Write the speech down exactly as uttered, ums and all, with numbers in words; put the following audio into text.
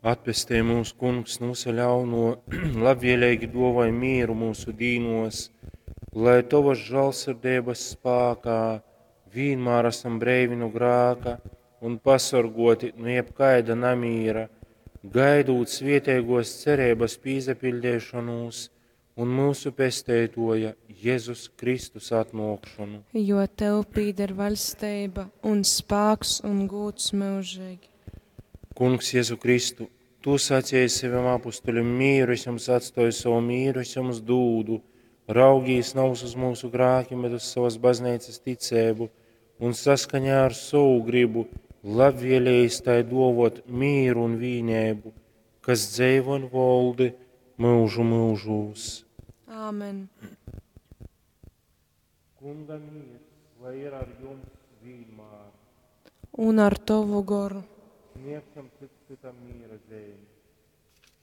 Atpestej mūs, Kungs, no visa ļauno, labvēlīgi duovoj mīru mūsu dīnos, lai Tovas žālsirdības spākā vienmēr esam breivi no grāka un pasorgoti no jebkaida namīra, gaidūt svietēgos cerības pīzapildēšanos un mūsu pesteitoja Jēzus Kristus atnākšanu. Jo tev pīder vaļstība un spāks un gūds mūžīgi. Kungs, Jēzu Kristu, Tu sacīji saviem apustuļiem, mīru es jums atstoju, savu mīru es jums dūdu. Raugīs nav uz mūsu grākiem, bet uz savas baznīcas ticēbu un saskaņā ar savu gribu labvēlējis tai dovot mīru un vīnēbu, kas dzeivo un voldi mūžu mūžūs. Āmen. Kunga mīrs, lai ir ar jums vienmēr. Un ar tavu goru. Sniegsim cits citam mīra zīmi.